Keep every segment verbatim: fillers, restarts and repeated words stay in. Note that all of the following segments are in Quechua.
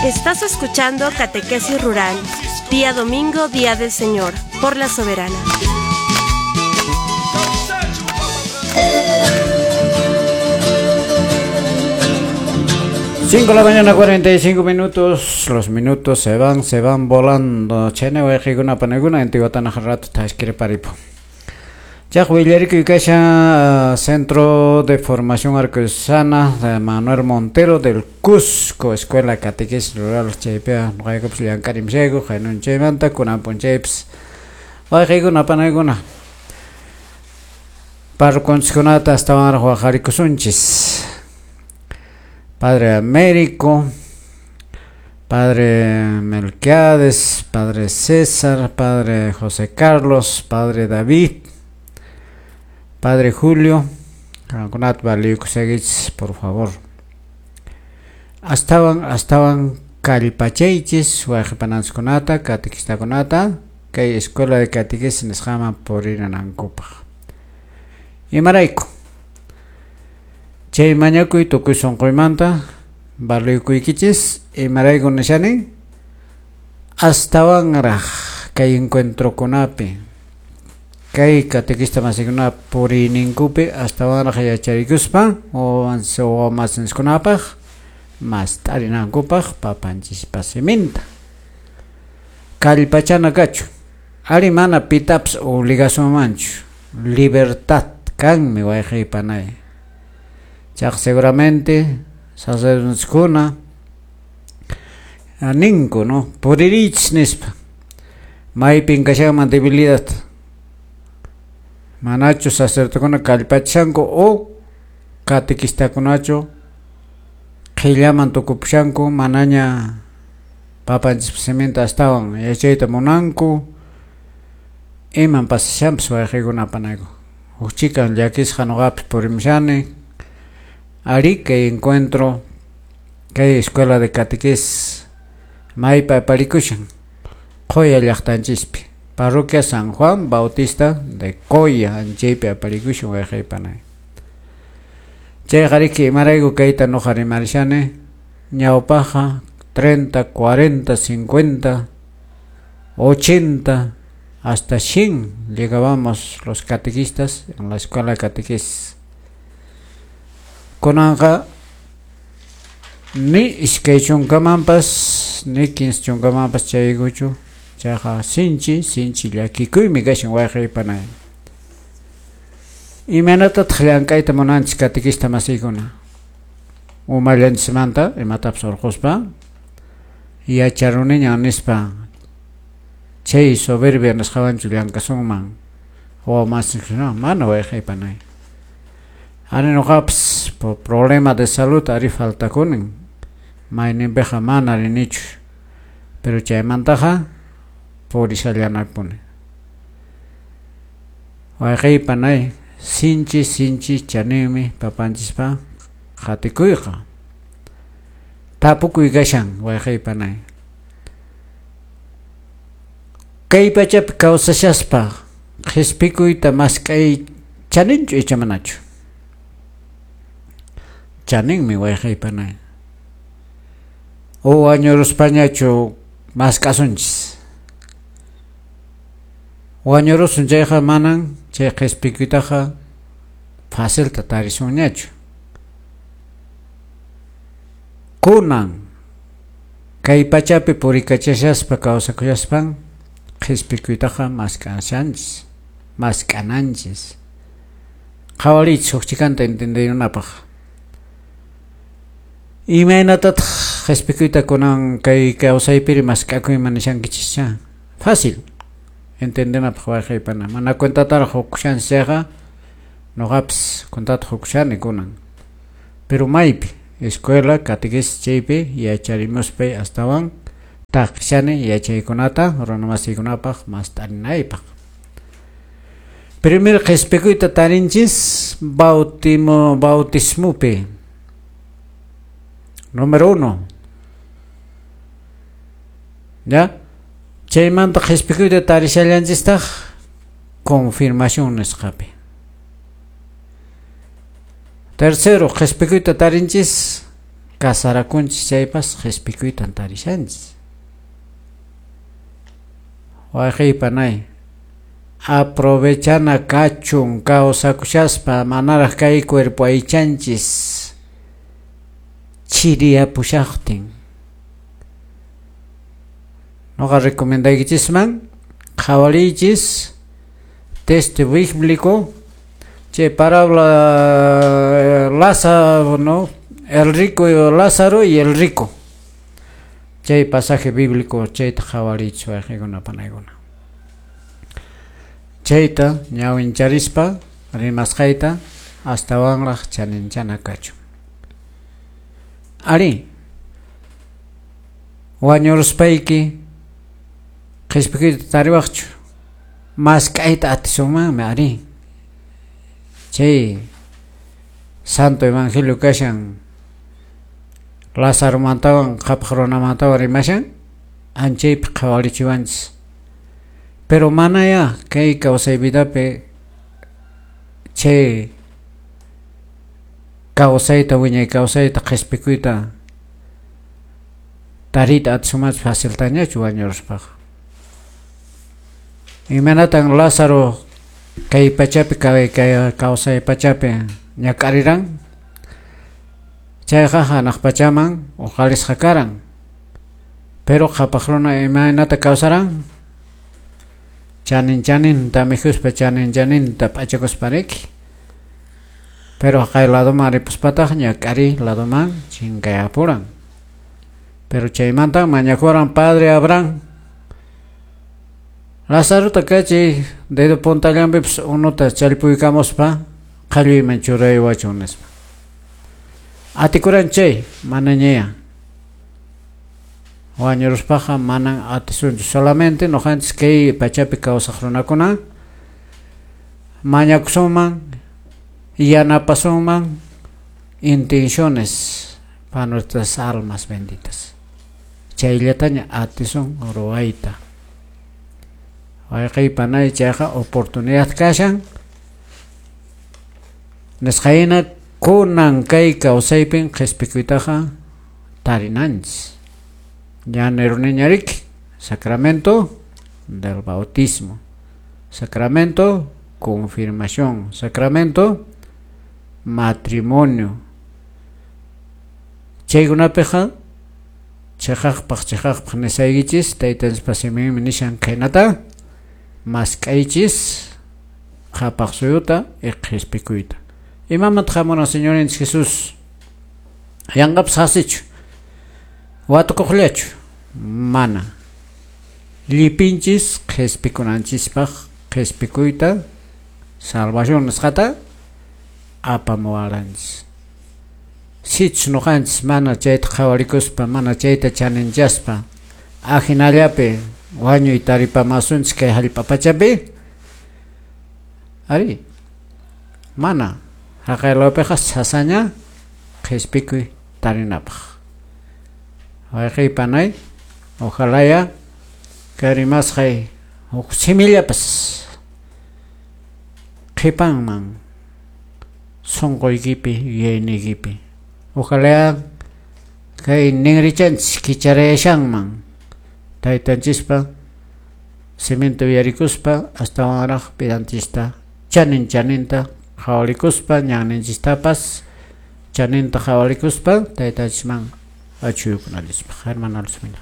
Estás escuchando Catequesis Rural, día domingo, día del Señor, por la Soberana. cinco de la mañana, cuarenta y cinco minutos. Los minutos se van, se van volando. Chene wayqikuna panakuna intiwatana rato tashkiri paripo. Chaq Centro de Formación Arquidiocesana de Manuel Montero del Cusco, Escuela Catequesis Rural chaypiqa nuqaykupas llank'arimshayku haynun chaymanta kunan p'unchaypas wayqikuna panakuna parroquianchiskunata astawanraq waqharikusunchis. Padre Américo, Padre Melquiades, Padre César, Padre José Carlos, Padre David, Padre Julio, por favor. Astawan, astawan kallpachaychis wayqipananchiskunata, catequistakunata, kay escuela de catequesis nisqaman purinanankupaq. Imarayku? Chay mañakuy tukuy sunquymanta valuyakuykichis, imarayku nishani astawanraq kay encuentrokunapi kay catequista masikuna puriyninkupi astawanraq yacharikuspa wawamasiskunapaq mast'arinankupaq papanchispa siminta kallpachana kachu ari mana pitapas obligasunmanchu libertad kanmi wayqiypanay. Chaq seguramente sacerdotekuna ninku, no, puririchis nispa maypin kashanman debilidad manachu sacerdotekuna kallpachishanku o catequistakunachu qhillaman tukupushanku manaña papanchispa siminta astawan yachayta munanku iman pasashanpas wayqikuna panayku huk chikan llakisqa nuqapis purimushani. Ari kay encuentro kay escuela de catequesis maypa aparikushan Qoya llaqtanchispi parroquia San Juan Bautista de Coya anchaypi aparikushan wayqaypanay. Chayqa riki imarayku kayta nuqa rimarishani ñawpaqqa treinta, cuarenta, cincuenta, ochenta hasta cien llegábamos los catequistas en la escuela de catequesis. Kunanqa ni iskay chunkamanpas ni kinsa chunkamanpas chaykuchu chayqa sinchi sinchi llakikuymi kashan wayqaypanay. Imaynatataq llank'ayta munanchis catequista masiykuna umallanchismanta imatapas urquspa yacharuniñan nispa chay soberbia nisqawanchu llank'asunman wawamasinchikuna mana wayqaypanay. Ari nuqapas por problema de salud ari faltakunin mayninpiqa mana rinichu pero chaymantaqa purishallanapuni wayqaypanay sinchi sinchi chaninmi papanchispa qatikuyqa tapukuy kashan wayqaypanay kay pachapi kawsashaspa qhispikuyta mask'ay chaninchu icha manachu chaninmi wayqaypanay o wañuruspañachu mask'asunchis wañurusun chayqa manan chay qhispikuytaqa facilta tarisunñachu kunan kay pachapi purikachashaspa kawsakushaspan qhispikuytaqa mask'ashanchis mask'ananchis qhawariychis huk chikanta entendinapaq. Imaynatataq qhispikuyta kunan kay kawsaypiri mask'akuyman nishankichischa fácil entendenapaq wayqaypana mana cuentataraq hukushanchis chayqa nuqapas cuentata hukushani kunan pero maypi escuela catequesis chaypi yacharimuspay astawan taqishani yachaykunata runamasiykunapaq mast'arinaypaq. Primero qhispikuyta tarinchis bautimo bautismupi. Número uno. ¿Ya? Chaymanta qhispikuyta tarishallanchistaq confirmación nisqapi. Tercero, qhispikuyta tarinchis Casarakunchis chaypas qhispikuytan tarishanchis. Wayqiy panay, aprovechana kachun kawsakushaspa manaraq kay cuerpo aychanchis chiriyapushaqtin. Noqa recomendaykichisman qhawariychis texto bíblico chay parábola Lázaro, ¿no? El rico Lázaro y el rico. Chay pasaje bíblico chayta qhawariychis wayqikuna panaykuna. Chayta ñawincharispa rimasqayta astawanraq chaninchana kachun. Ari, wañuruspayki qhispikuyta tariwaqchu mask'ayta atisunmanmi ari. Chay Santo Evangelio kashan Lázaromantawan qhapaq runamantawan rimashan anchaypi qhawarichiwanchis. Pero manaya kay kawsay vidapi chay kawsayta wiñay kawsayta qhispikuyta tariyta atisunmanchu faciltañachu wañuruspaqa. Imaynatan Lázaro kay pachapi kay kawsay pachapi ñak'ariran chayqa hanaq pachaman uqalisqa karan. Pero qhapaq runa imaynata kawsaran chanin chaninta mikhuspa chanin chaninta p'achakuspa riki. Pero kay ladoman ripuspataq ñak'ari ladoman chinkayapuran. Pero chaymanta mañakuran padre Abraham Lázarota kachi dedo puntallanpipas unuta challpuykamuspa qalluyman churayawachun nispa. Atikuran chay manañaya. Wañuruspaqa manan atisunchu. Solamente noqanchis kay pachapi kawsaq runakuna mañakusunman yanapasunman intenciones para nuestras almas benditas. Chayllataña atisun ruwayta. Wayqiy panay chayqa oportunidad kashan nisqayna kunan kay kawsaypin qhispikuytaqa tarinanchis. Ya neruniñariki sacramento del bautismo, sacramento confirmación, sacramento matrimonio. Chaykunapiqa chiqaqpaq chiqaqpaq nisaykichis taytanchispa siminmi nishan khaynata mask'aychis qhapaq suyuta y qhispikuyta. Imamanta hamuran Señorinchis Jesús? Yanqapas hasichu watukuqllachu mana. Llipinchis qhispikunanchispaq qhispikuyta salvación nisqata apamuwaranchis. Sichus ñuqanchis mana chayta qhawarikuspa mana chayta chaninchaspa ajinallapi wañuy taripamasunchis kay hallp'a pachapi ari mana haqaylawpiqa sasaña qhispikuy tarinapaq. Wayqiy panay, ojalaya kay rimasqay huk simillapas qhipanman sunquykipi yuyayniykipi. Ojalá kay ninrichanchis kicharayashanman taytanchispa siminta uyarikuspa astawanraq vidanchista chanin chaninta qhawarikuspa ñanninchistapas chaninta qhawarikuspa taytanchisman achuykunallispaq. Hermana Luzmila.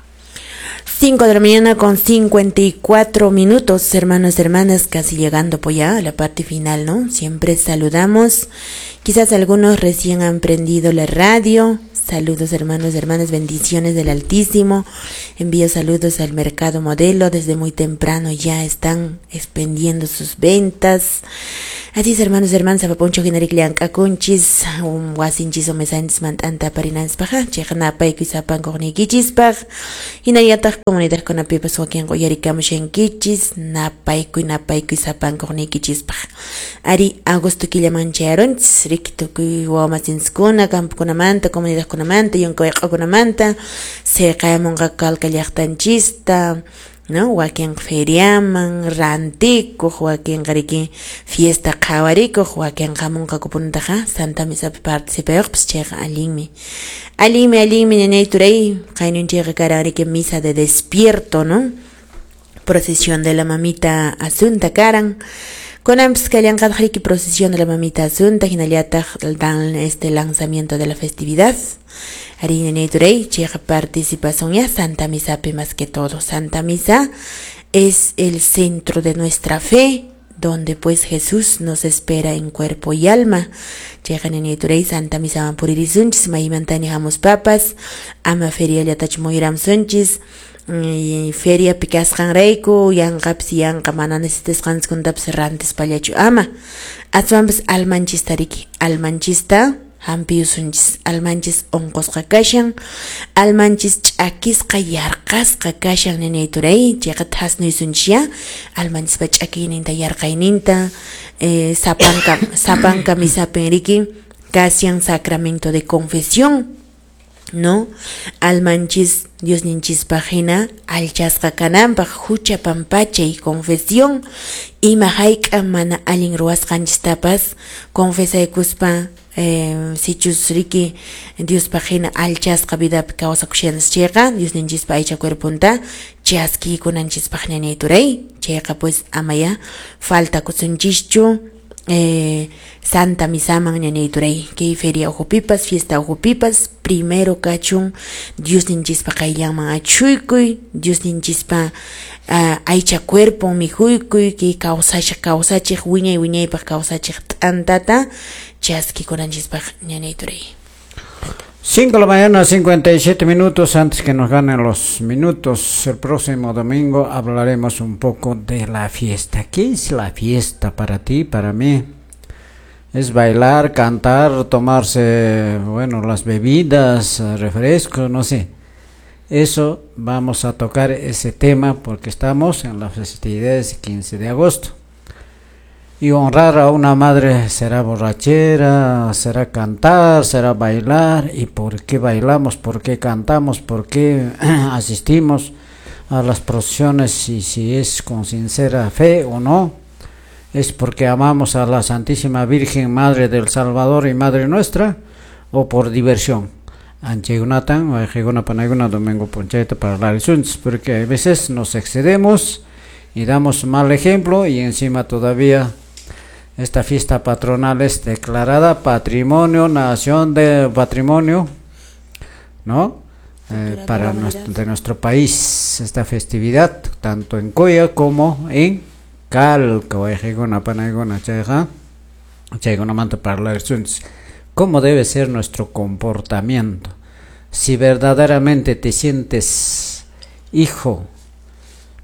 cinco de la mañana con cincuenta y cuatro minutos, hermanos, hermanas, casi llegando pues ya a la parte final, ¿no? Siempre saludamos. Quizás algunos recién han prendido la radio. Saludos, hermanos, hermanas, bendiciones del Altísimo. Envío saludos al Mercado Modelo. Desde muy temprano ya están expendiendo sus ventas. Así es, hermanos, hermanas, apaponcho generik liankakunchis, um wasinchis omesanchis mantanta parinanspaj, chejnapayku sapankuqniykichispaj, hinallataq comunidad kunapipas wakin quyarikamushankichis, napaykuy napaykuy sapankuqniykichispaj. Ari agosto killaman chayarunchis, riki tukuy wawamasinchiskuna, campokunamanta, comunidadkunamanta, yunka wayq'akunamanta, siqayamunqa Calca llaqtanchista. No, wakin feriaman, rantikuq, wakinqa riki fiesta qhawarikuq, wakinqa hamunqakupunataqa Santa Misapi participayuqpas, chayqa allinmi. Allinmi, allinmi ñañay turay, qaynunchayqa karan riki misa de despierto, ¿no? Procesión de la mamita Asunta karan. Kunanpis kallanqataq riki procesión de la mamita Asunta, hinallataq dan este lanzamiento de la festividad. Ari ñañay turay, chayqa participación ya Santa Misapi más que todo. Santa Misa es el centro de nuestra fe, donde pues Jesús nos espera en cuerpo y alma. Chayqa ñañay turay, Santa Misa puririsunchis, maymantani hamuspapas, ama feria llatachu muyuramsunchis, y feria pikasqanrayku, yanqapis yanqa mana necesitasqanchikkunatapas rantispallachu ama. Aswanpas almanchista riki, almanchista hampiyusunchis, almanchis unqusqa kashan, almanchis ch'akisqa yarqasqa kashan ñañay turay, chayqa thasnuysunchis ya, almanchispa ch'akiyninta yarqayninta, eh, sapanka, sapanka misapin riki, kashan sacramento de confesión, ¿no? Almanchis Diosninchispaq hina allchasqa kananpaq hucha pampachay confesión, ima hayk'a mana allin ruwasqanchistapas confesaykuspa, eh, sichus riki Diospaq hina allchasqa vidapi kawsakushanchis chayqa Diosninchispa aycha cuerponta chaskiykunanchispaq ñañay turay, chayqa pues amaya faltakusunchischu eh, Santa Misaman ñañay turay, kay feria uhupipas, fiesta uhupipas, primero kachun Diosninchispa qayllanman achhuykuy, Diosninchispa uh, aycha cuerpo mikhuykuy, kay kawsachik kawsachiq wiñay wiñaypaq kawsachiq t'antata chaskikunanchispaq ñañay turay. Cinco de la mañana, cincuenta y siete minutos, antes que nos ganen los minutos, el próximo domingo hablaremos un poco de la fiesta. ¿Qué es la fiesta para ti, para mí? Es bailar, cantar, tomarse, bueno, las bebidas, refrescos, no sé. Eso vamos a tocar ese tema porque estamos en las festividades quince de agosto. Y honrar a una madre será borrachera, será cantar, será bailar. ¿Y por qué bailamos? ¿Por qué cantamos? ¿Por qué asistimos a las procesiones? Y si es con sincera fe o no, es porque amamos a la Santísima Virgen Madre del Salvador y Madre nuestra, o por diversión. Anchegunatan, o panayguna domingo ponchayta para la porque a veces nos excedemos y damos mal ejemplo, y encima todavía esta fiesta patronal es declarada patrimonio, nación de patrimonio, ¿no? Eh, para nuestro, de nuestro país, esta festividad, tanto en Coya como en Calca. ¿Cómo debe ser nuestro comportamiento? Si verdaderamente te sientes hijo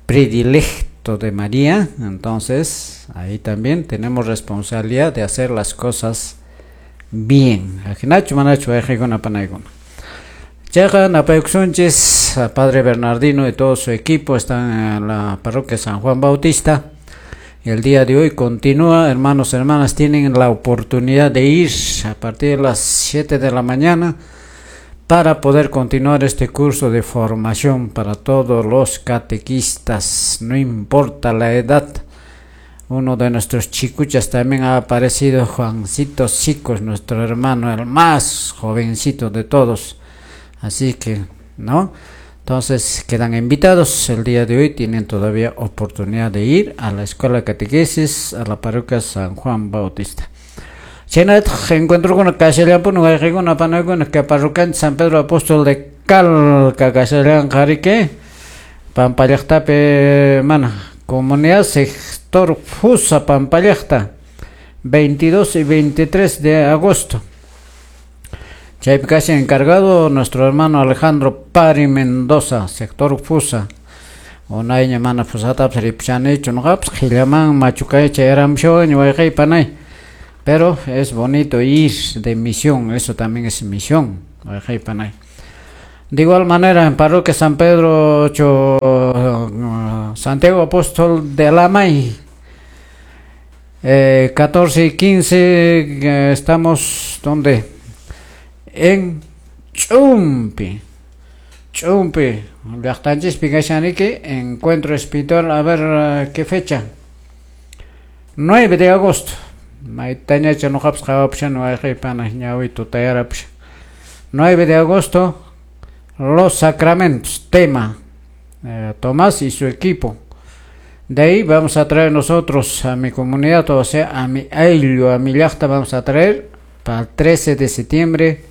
predilecto de María, entonces ahí también tenemos responsabilidad de hacer las cosas bien. Padre Bernardino y todo su equipo están en la parroquia San Juan Bautista. El día de hoy continúa, hermanos, hermanas, tienen la oportunidad de ir a partir de las siete de la mañana para poder continuar este curso de formación para todos los catequistas, no importa la edad. Uno de nuestros chicuchas también ha aparecido, Juancito Sicos, nuestro hermano, el más jovencito de todos. Así que, ¿no? Entonces quedan invitados el día de hoy, tienen todavía oportunidad de ir a la Escuela de Catequesis, a la parroquia San Juan Bautista. Chenat encuentro con Casellan, una panaguna que parroquia San Pedro Apóstol de Calca, Casellan, Jarique, Pampallactape, mana, comunidad sector Fusa, Pampallacta, veintidós y veintitrés de agosto. Chaypi encargado nuestro hermano Alejandro Pari Mendoza, sector Fusa. Unayña mana fusatapas ripchanichu noqapas qhillaman machucay chayaramushawan wayqay panay. Pero es bonito ir de misión, eso también es misión, wayqay panay. De igual manera en parroquia San Pedro ocho, Santiago Apóstol de Alamay, eh, catorce y quince, eh, estamos ¿dónde? En Chumpi. Ch'umpi llaqtanchispi kashanriki encuentro espiritual, a ver qué fecha, nueve de agosto, maytañacha nuqapas qhawapushan wayqiypana ñawi tutayarapushan. nueve de agosto, los sacramentos, tema, eh, Tomás y su equipo. De ahí vamos a traer nosotros a mi comunidad, o sea, a mi ayllu, a mi llaqta, vamos a traer para el trece de septiembre,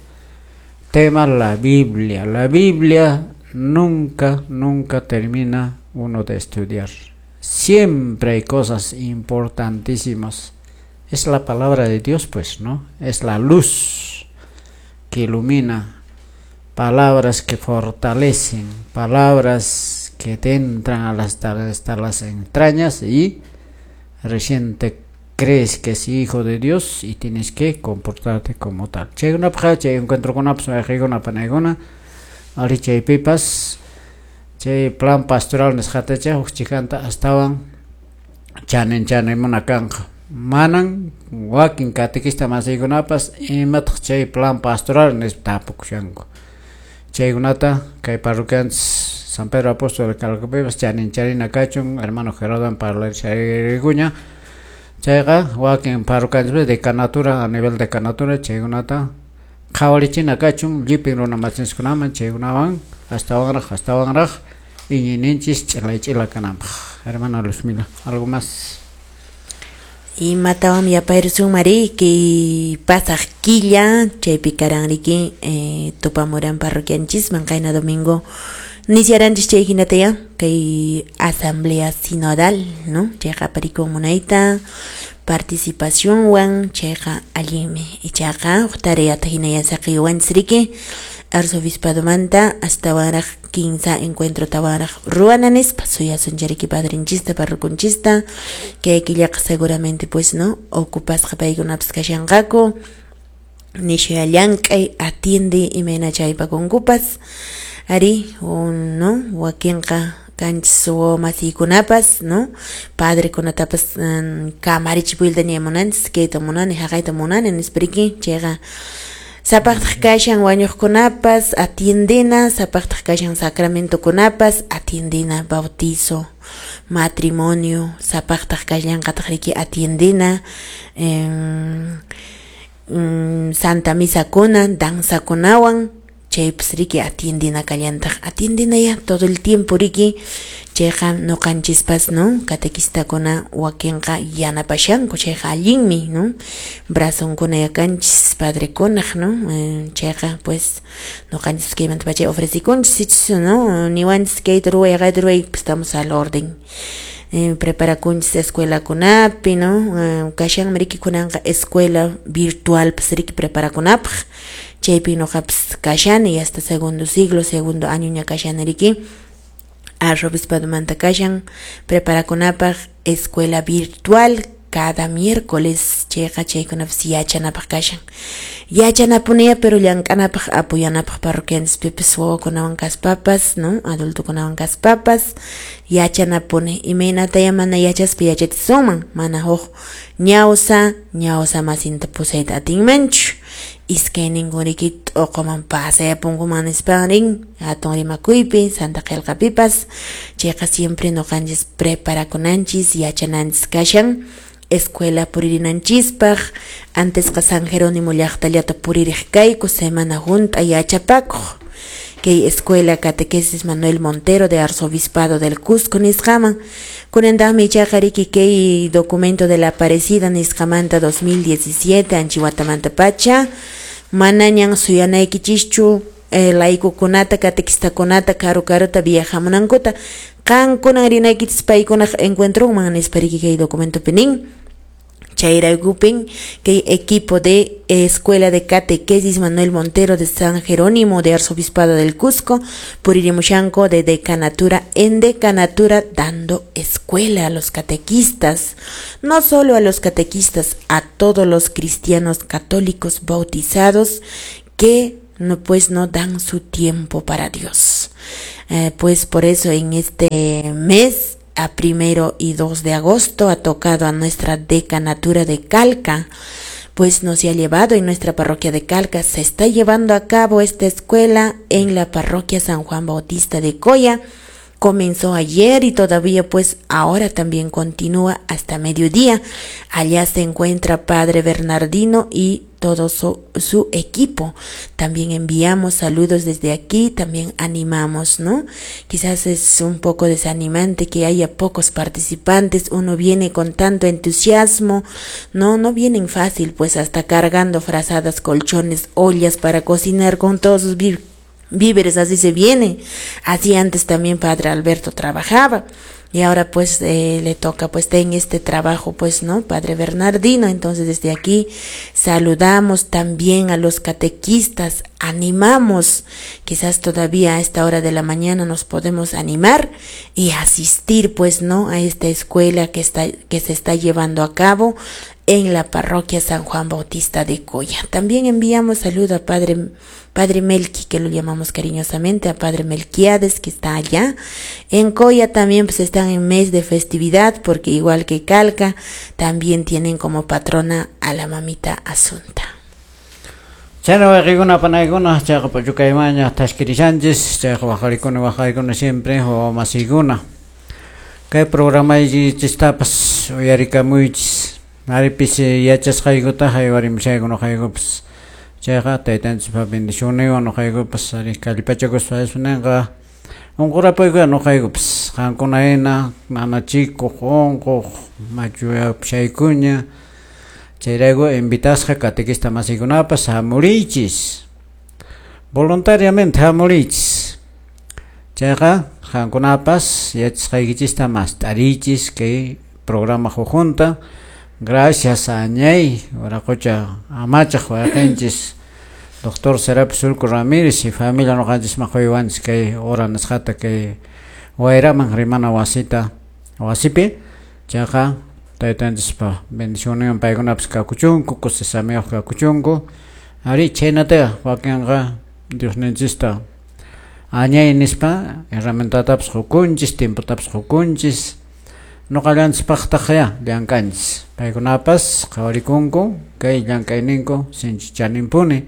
tema la Biblia. La Biblia nunca, nunca termina uno de estudiar. Siempre hay cosas importantísimas. Es la palabra de Dios, pues, ¿no? Es la luz que ilumina, palabras que fortalecen, palabras que te entran a las, hasta las entrañas y recién te crees que es hijo de Dios y tienes que comportarte como tal. Chaykunapaq chay encuentrokunapas wayqiykuna panaykuna ari chaypipas chay plan pastoral nisqatacha huk chikanta astawan chanin chanimuna kanqa. Manan wakin catequista masiykunapas imataq chay plan pastoral nispa tapukushanku. Chaykunata kay parroquianchis San Pedro Apóstol de Calcapipas chanin charina kachun hermano Gerardo parlariguña chayqa wakin parroquianchis decanatura a nivel decanatura chaykunata qhawarichina kachun llipin runa machinskunaman chaykunawan astawanraq astawanraq iñiyninchis ch'ilay ch'ila kananpaq. Hermana Luzmila, algo más. Imatawan yapayrusun mari kay pasaq killa chaypi karanriki eh, tupamuran parroquianchisman qayna domingo nisyaranchis chay hinataya kay asamblea sinodal, ¿no? Chayqa aparikun munayta participacionwan chayqa allinmi ichaqa huk tareata hinaya saqiywanchis riki arzobispadomanta astawanraq kinsa encuentro tawanraq ruwana nispa suyasun riki padrinchista parroconchista kay killaqa seguramente pues no ocupasqa paykunapas kashanqaku nishuya llank'ay atiende imayna chaypakunkupas ari un, no wakinqa kanchis masiykunapas no padrekunatapas um, kamarichipuyta munanchis kayta munani haqayta munani nispa riki chayqa sapaqtaq kashan wañuqkunapas atiendena, sapaqtaq kashan sacramentokunapas atiendena, bautizo, matrimonio, sapaqtaq kashanqataq riki atiendena, eh, mm, santa misakuna, danzakunawan, chaypas riki atiendena kallantaq, atiendena ya todo el tiempo riki, chayqa nuqanchispas no catequistakuna wakinqa yanapashanku chayqa allinmi no brazonkuna yakanchis padrekunaq no eh, chayqa pues nuqanchis kaymanta pacha ofrecikunchis sichus no niwanchis kayta ruway kayta ruway pues estamos al orden. Eh, preparakunchis escuelakunapi no eh, kashanmi riki kunanqa escuela virtual pues riki preparakunapaq chaypi nuqapas kashani hasta segundo siglo segundo año ña kashani riki arzobispadomanta kashan preparakunapaq escuela virtual cada miércoles chayqa chaykunapas yachanapaq kashan yachanapunia pero llank'anapaq apoyanapaq parroquianchispipas wawakunawan kaspapas no adultokunawan kaspapas yachanapuni imaynataya mana yachaspa yachatisunman mana huk ñawsa ñawsa masinta pusayta atinmanchu iskayninkun riki t'uquman pasayapunkuman nispan rin hatun rimakuypi Santa Qillqapipas chayqa siempre nuqanchis preparakunanchis yachananchis kashan escuela puririnanchispaq antesqa San Jerónimo llaqtallata puririq kayku semana hunt'a yachapakuq kay escuela catequesis Manuel Montero de Arzobispado del Cusco nisqaman kunantaqmi ichaqa riki kay documento de la Aparecida nisqamanta dos mil diecisiete anchiwatamanta pacha manañan suyanaykichischu eh, laikukunata catequistakunata karu karuta viajamunankuta qankunan rinaykichis paykunaq encuentronman nispa riki kay documentopi nin chayraykupin kay equipo de Escuela de Catequesis Manuel Montero de San Jerónimo de Arzobispado del Cusco puririmushanko de decanatura en decanatura dando escuela a los catequistas, no solo a los catequistas, a todos los cristianos católicos bautizados que no pues no dan su tiempo para Dios. Eh, pues por eso en este mes a primero y dos de agosto ha tocado a nuestra decanatura de Calca pues no se ha llevado en nuestra parroquia de Calca. Se está llevando a cabo esta escuela en la parroquia San Juan Bautista de Coya. Comenzó ayer y todavía pues ahora también continúa hasta mediodía. Allá se encuentra Padre Bernardino y todo su, su equipo. También enviamos saludos desde aquí, también animamos, ¿no? Quizás es un poco desanimante que haya pocos participantes, uno viene con tanto entusiasmo, no, no vienen fácil, pues hasta cargando frazadas, colchones, ollas para cocinar con todos sus víveres, así se viene. Así antes también Padre Alberto trabajaba. Y ahora pues eh, le toca pues en este trabajo pues, ¿no? Padre Bernardino. Entonces desde aquí saludamos también a los catequistas, animamos, quizás todavía a esta hora de la mañana nos podemos animar y asistir pues, ¿no? A esta escuela que está, que se está llevando a cabo en la parroquia San Juan Bautista de Coya. También enviamos saludo a Padre, Padre Melqui, que lo llamamos cariñosamente, a Padre Melquiades, que está allá. En Coya también pues están en mes de festividad, porque igual que Calca, también tienen como patrona a la mamita Asunta. Chano waqikuna panaykuna chayqa p'uchukaymaña tashkirishanchis chayqa waqarikuna waqarikuna siempre wawamasikuna kay programaykichistapas uyarikamuychis aripis yachasqaykuta haywarimushayku nuqaykupas chayqa taytanchispa bendicionniwan nuqaykupas ari kallpachakuspa ninqa unqurapuykuya nuqaykupas qankuna hina nanachikuq unquq machuyapashaykuña chayrayku invitasqa catequista masikunapas hamuriychis voluntariamente hamuriychis chayqa qankunapas yachasqaykichista mast'ariychis kay programa hukjunta. Gracias a Añay, Waraqucha amachaq wayqinchis doctor Serapio Surco Ramírez y familia nuqanchis maquywanchis kay hora nisqata kay wayraman rimana wasita wasipi chayqa taytanchispa bendicionniwan paykunapas kakuchunku kusisamiyuq kakuchunku ari chhaynataqa wakinqa Diosninchista añay nispa herramientatapas qukunchis tiempotapas qukunchis nuqallanchispaqtaq llank'anchis paykunapas qhawarikunku kay llank'ayninku sinchi chaninpuni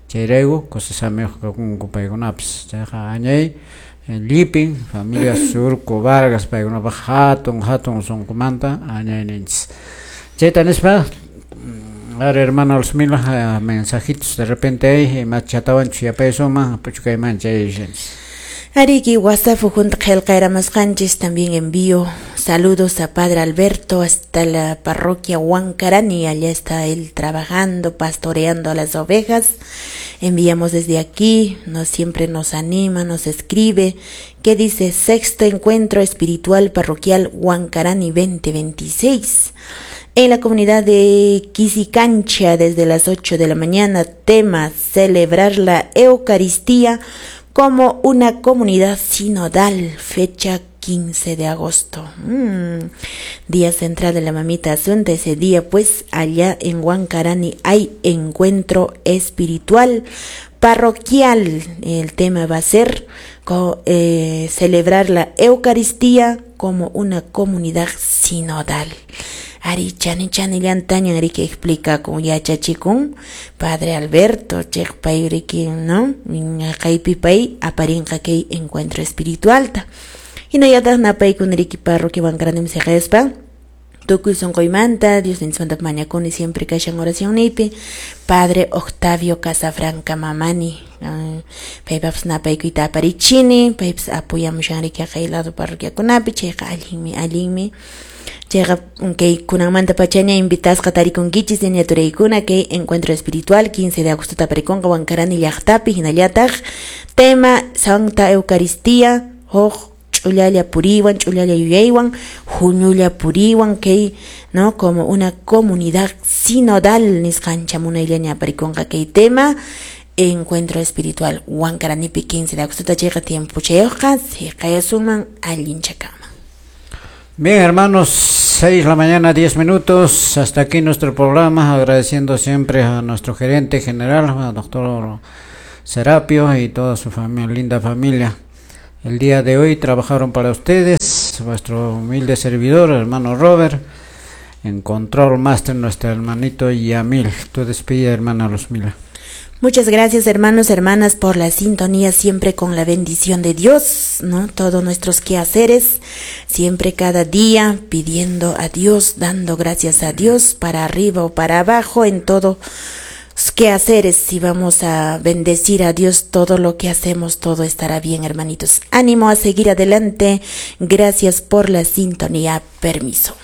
chayrayku kusisamiyuq kakunku paykunapas chayqa añay llipin familia Surco Vargas paykunapaq hatun hatun sunqumanta añayninchis chayta nispa a ver hermano Luzmila mensajitos de repente hay imachatawanchus yapaysuman p'uchukayman chayashanchis. Ariki WhatsApp junto qillqayramasqanchis también envío saludos a Padre Alberto hasta la parroquia Huancarani, allá está él trabajando, pastoreando a las ovejas. Enviamos desde aquí, nos siempre nos anima, nos escribe, que dice sexto encuentro espiritual parroquial Huancarani veinte veintiséis. En la comunidad de Quisicancha desde las ocho de la mañana, tema celebrar la Eucaristía como una comunidad sinodal, fecha quince de agosto. Mm, día central de la mamita Asunta, ese día pues allá en Huancarani hay encuentro espiritual parroquial. El tema va a ser co, eh, celebrar la Eucaristía como una comunidad sinodal. Ari chani chani llantaña ari que explica con yachachikun Padre Alberto chekpayriki, ¿no? Kaypi pay aparinqa kay encuentro espiritual ta. Hinallataq napaykunariki parroquia Huancarani siqaspa tukuy sunquymanta Dios ninchmanta mañakuni siempre kashan oracionnipi Padre Octavio Casafranca Mamani paypapas napaykuyta aparichini paypas apoyamushanriki kay lado parroquiakunapi chayqa allinmi allinmi chayqa kay kunanmanta pachaña invitasqa tarikunkichis ñaturaykuna kay encuentro espiritual quince de agosto taparikunqa Huancarani llaqtapi hinallataq tema Santa Eucaristía huk ch'ullalla puriwan ch'ullalla yuyaywan huñulla puriwan kay no como una comunidad sinodal nisqancha munayllaña aparikunqa kay tema encuentro espiritual Huancaranipi quince de agosto chayqa tiempochayuqqa siqayasuman allinchakama. Bien, hermanos, seis de la mañana, diez minutos. Hasta aquí nuestro programa, agradeciendo siempre a nuestro gerente general, al doctor Serapio y toda su familia, linda familia. El día de hoy trabajaron para ustedes, vuestro humilde servidor, hermano Robert, En control master nuestro hermanito Yamil. Tu despedida, hermana Luzmila. Muchas gracias, hermanos, hermanas, por la sintonía, siempre con la bendición de Dios, ¿no? Todos nuestros quehaceres, siempre cada día pidiendo a Dios, dando gracias a Dios para arriba o para abajo en todo quehaceres. Si vamos a bendecir a Dios todo lo que hacemos, todo estará bien, hermanitos. Ánimo a seguir adelante. Gracias por la sintonía. Permiso.